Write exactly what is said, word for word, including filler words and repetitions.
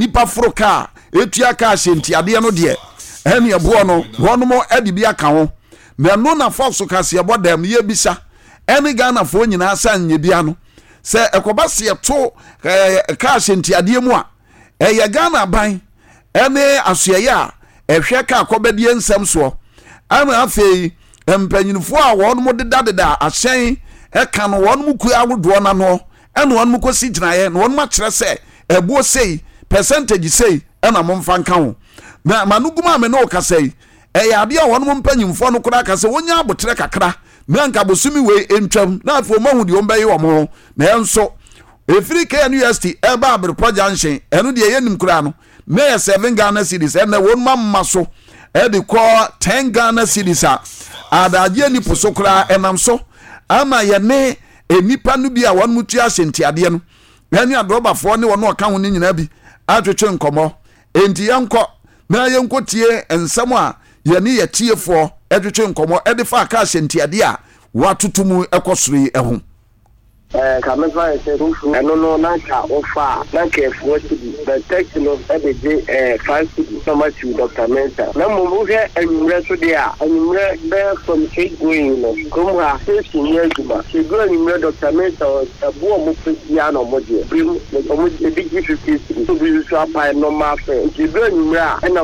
Nipa foro kaa etua kaa hyɛ ntiadeɛ no deɛ, ɛne ɛboɔ no wɔnom ɛde bi aka ho. Na ɛno na Fox kaseɛbɔ dɛm yɛbisa ɛne Ghanafoɔ nyinaa sɛ nyɛ bia no sɛ ɛkɔba se yɛto ɛɛ kaa hyɛ ntiadeɛ mu a, ɛyɛ Ghana aban ɛne asoɛyɛ a ɛhwɛ kaa kɔbɛdeɛ nsɛm soɔ, ɛna afei mpanyinfoɔ a wɔn dedadeda ahyɛn ɛka no, wɔn kuo ahodoɔ n'ano ɛna wɔn kɔsi gyinaeɛ na wɔn akyerɛ sɛ ɛboɔ sei, percentage sei ɛna momfa nka ho. Na ma no gum a me ne wo kasa yi, ɛyɛ adeɛ a wɔn mpanyinfoɔ no koraa kasa wɔnya abotrɛ kakra na nka bosomi wei ntwam na afei wɔn ahu deɛ wɔn bɛyɛ wɔn ho. Na ɛnso efiri K N U S T ɛba Abirepɔ Junction, ɛno deɛ yɛnim koraa no na yɛ seven Ghana cedis, ɛnna wɔn mama so ɛde kɔ ten Ghana cedis a adagyeɛ nipo so koraa. Ɛnam so ama yɛne nipa no bi a wɔn mu tua ahyɛ ntiadeɛ no ɛne adrɔbafoɔ ne wɔn a ɔka ho no nyinaa bi atwetwe nkɔmɔ. Enti yɛnkɔ na yɛnkɔ tie nsɛm a yɛne yɛ tiefoɔ ɛtwetwe nkɔmɔ ɛde fa aka ahyɛ ntiadeɛ a watoto mu ɛkɔ soro yi ɛho. Ɛɛ ka mefa yɛ sɛ fufu ɛno no na nka wofa a na nka ɛfoɔ cedi, but taxi no ɛde gye ɛɛ five cedi na ɔma siw Doctor Mensa. Na mmom wohwɛ anwummerɛ so deɛ a, anwummerɛ bɛyɛ from eight going no, kurom ha station nyɛ adwuma. Sɛ duru anwummerɛ, Doctor Mensa ɛbo a ɔmo pɛ biara na ɔmo gye birim. Ɔmo ebi gye fifty cedi, obi nso apae normal fare. Nti duru anwummerɛ a ɛna